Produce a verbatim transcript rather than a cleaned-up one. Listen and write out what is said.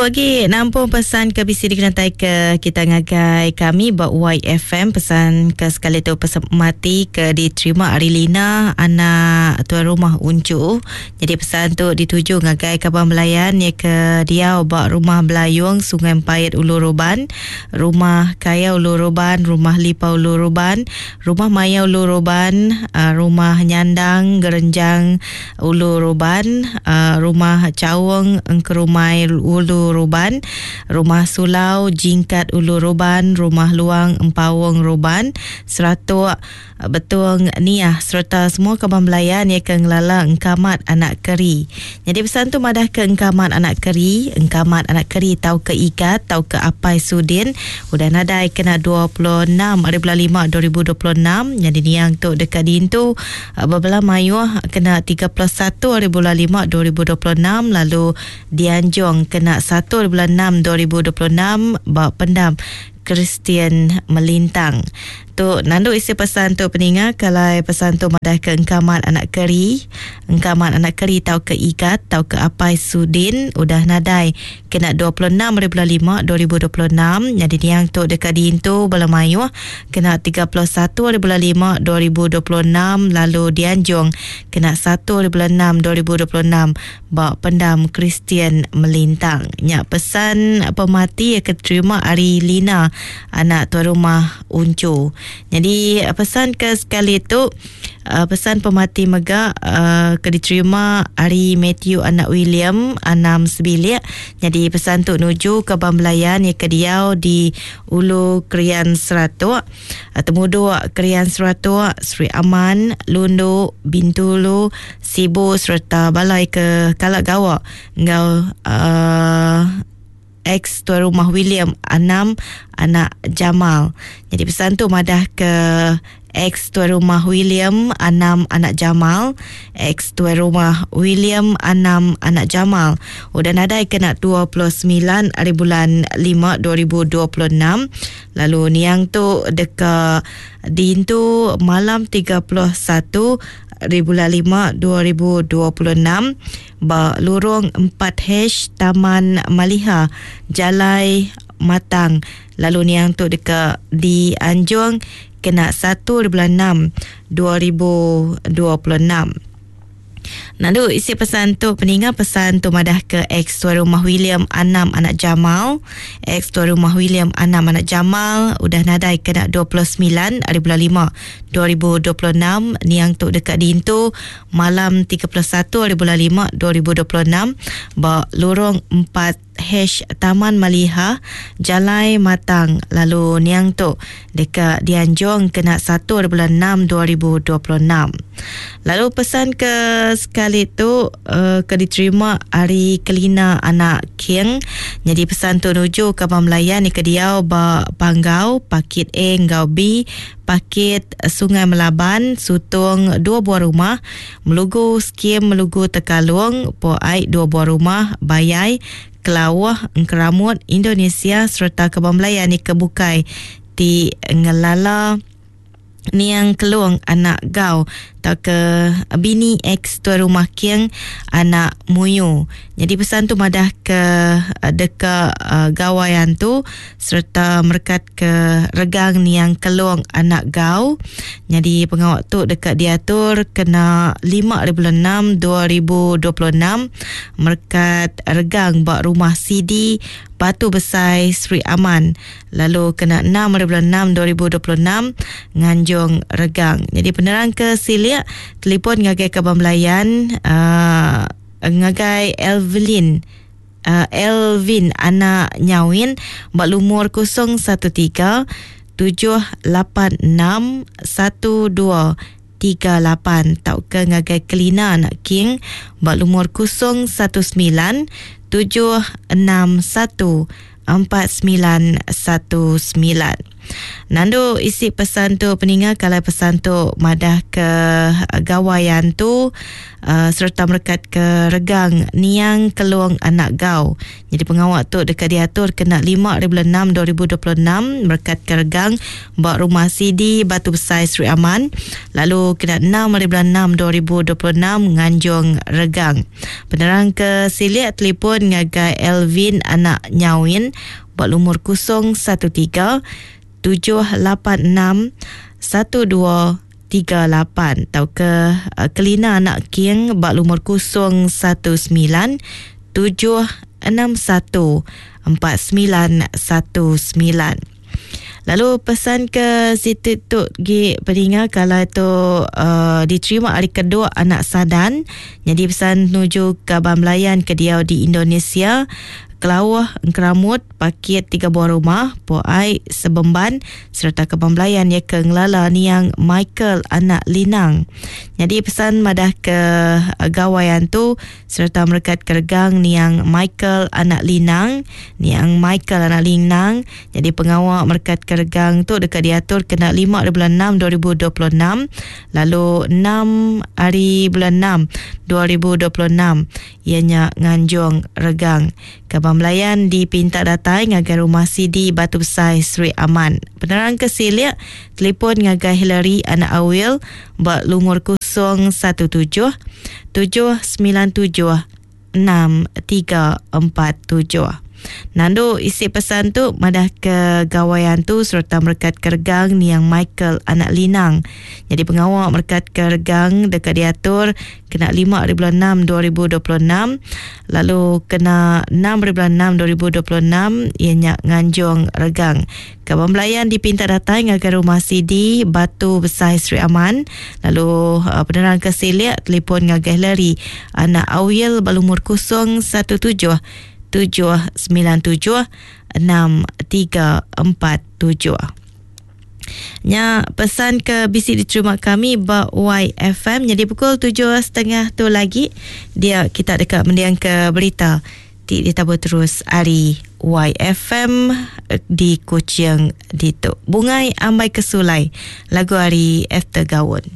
Aku agi nampung pesan ke bisi dikenatai ke kita ngagai kami ba Y F M. Pesan ke sekali tu pesan mati ke diterima ari Lina anak tuan rumah Uncu. Jadi pesan tu dituju ngagai kaban belayan ya ke diau ba rumah Belayung Sungai Empait Ulu Roban, rumah Kaya Ulu Roban, rumah Lipa Ulu Roban, rumah Maya Ulu Roban, rumah Nyandang Gerenjang Ulu Roban, rumah Caung Engkerumai Ulu Roban, rumah Sulau Jingkat Ulu Roban, rumah Luang Empawung Roban, Seratuk Betung Niah serta semua kaban belayan ya ke ngelala Engkamat Anak Keri. Jadi pesan tu madah ke Engkamat Anak Keri, Engkamat Anak Keri tau ke Igat tau ke Apai Sudin udah nadai kena dua puluh enam hari bulan lima dua ribu dua puluh enam. Jadi niang tu dekat dintu bebelah mayuh kena tiga puluh satu hari bulan lima dua ribu dua puluh enam lalu dianjung kena satu hari bulan enam dua ribu dua puluh enam ba pendam Kristian Melintang. Tu nandu isi pesan tu peninga kalau pesan tu madah ke Engkamat Anak Keri, Engkamat Anak Keri tau ke Igat tau ke Apai Sudin udah nadai kena dua puluh enam hari bulan lima dua ribu dua puluh enam. Jadi niang tu dekat diintu bala mayuh kena tiga puluh satu hari bulan lima dua ribu dua puluh enam lalu dianjung kena satu hari bulan enam dua ribu dua puluh enam ba pendam Kristian Melintang. Nyak pesan pemati yang keterima ari Lina anak tuan rumah Uncu. Jadi pesan ke sekali tu pesan pemati mega uh, ke diterima ari Matthew anak William anam sebilik. Jadi pesan tu nuju ke Bambelayan yang ke diau di Ulu Krian Seratuk, Temuduk Krian Seratuk, Sri Aman, Lundu, Bintulu, Sibu serta balai ke Kalak Gawak ngau uh, ex tuan rumah William Anam anak Jamal. Jadi pesan tu madah ke ex tuan rumah William Anam anak Jamal, ex tuan rumah William Anam anak Jamal udah nadai kena dua puluh sembilan hari bulan lima dua ribu dua puluh enam. Lalu niang tu deka diintu malam tiga puluh satu hari bulan lima dua ribu dua puluh enam ba lurung empat H Taman Maliha Jalai Matang. Lalu niang tu deka dianjung kena satu hari bulan enam dua ribu dua puluh enam. Lalu isi pesan tu peninga pesan tu madah ke ex tuan rumah William Anam anak Jamal, ex tuan rumah William Anam anak Jamal udah nadai kena dua puluh sembilan hari bulan lima dua ribu dua puluh enam. Niang tu dekat diintu malam tiga puluh satu hari bulan lima dua ribu dua puluh enam ba lorong empat H Taman Maliha Jalai Matang. Lalu niang tu dekat dianjung kena satu hari bulan enam dua ribu dua puluh enam. Lalu pesan ke sekali tu uh, ke diterima ari Kelina anak King. Jadi pesan tu nuju ke Abang Melayan ni ke diau ba Panggau Pakit A ngau B Pakit Sungai Melaban Sutong dua buah rumah, Melugu Skim Melugu Tekalung Po Ai dua buah rumah, Bayai Kelawah Engkeramut Indonesia serta Kebang Melayan ni kebukai ti ngelala Niang Kelung anak Gau atau ke bini ex tuan rumah King anak Muyu. Jadi pesan tu madah ke deka uh, gawayan tu serta merekat ke regang Niang Kelung anak Gau. Jadi pengawak tu dekat diatur kena lima hari bulan enam dua ribu dua puluh enam merekat regang bak rumah C D Batu Besai Sri Aman. Lalu kena enam hari bulan enam dua ribu dua puluh enam nganjung regang. Jadi penerang ke Silik telefon ngagai Kabang Melayan uh, ngagai Elvin uh, Elvin anak Nyawin bak lumur kosong satu tiga tujuh lapan enam satu dua tiga lapan tau ke ngagai Kelina anak King bak lumur kosong satu sembilan tujuh enam satu empat sembilan satu sembilan. Nandu isi pesan tu peninga kalau pesan tu madah ke gawayan tu uh, serta merekat ke regang Niang Kelung Anak Gau. Jadi pengawak tu dekat diatur kena lima hari bulan enam dua ribu dua puluh enam merekat ke regang ba rumah C D Batu Besai Sri Aman, lalu kena enam hari bulan enam dua ribu dua puluh enam nganjung regang. Penerang ke silik telefon ngagai Elvin anak Nyawin buat lumur kosong satu tiga tujuh lapan enam satu dua tiga lapan atau ke uh, Kelina anak King bak lumur kosong satu sembilan tujuh enam satu empat sembilan satu sembilan. Lalu pesan ke situ tu gi peninga kalau tu uh, diterima hari kedua anak Sadan. Jadi pesan menuju ke Abang Melayan ke dia di Indonesia. Kelauh Engkeramut paket tiga buah rumah Poai Sebemban serta Kebang Belayan ya ke Ngelala Niang Michael anak Linang. Jadi pesan madah ke gawayan tu serta merekat keregang Niang Michael anak Linang, Niang Michael anak Linang. Jadi pengawak merekat keregang tu dekat diatur kena lima hari bulan enam dua ribu dua puluh enam, lalu enam hari bulan enam dua ribu dua puluh enam ianya nganjung regang. Kebang Melayan dipinta datang ngagai rumah C D Batu Besai Sri Aman. Penerang ke silik telefon ngagai Hillary anak Awil bak lumur kosong satu tujuh tujuh sembilan tujuh enam tiga empat tujuh. Nandu isi pesan tu madah ke gawayan tu serta merekat kergang Niang Michael anak Linang. Jadi pengawak merekat kergang dekat diatur kena lima hari bulan enam dua ribu dua puluh enam, lalu kena enam hari bulan enam dua ribu dua puluh enam ianya nganjung regang. Kawan Belayan dipinta datang ngagai rumah C D Batu Besai Sri Aman, lalu uh, penerang ke silik telefon ngagai Larry anak Awil balumur kosong satu tujuh tujuh sembilan tujuh enam tiga empat tujuh. Nya pesan ke B C diterima kami ba Y F M. Jadi pukul tujuh setengah tu lagi dia kita dekat mendiang ke berita ti ditabur terus hari Y F M di Kuching ditu. Bungai Ambai Kesulai lagu hari After Gawon.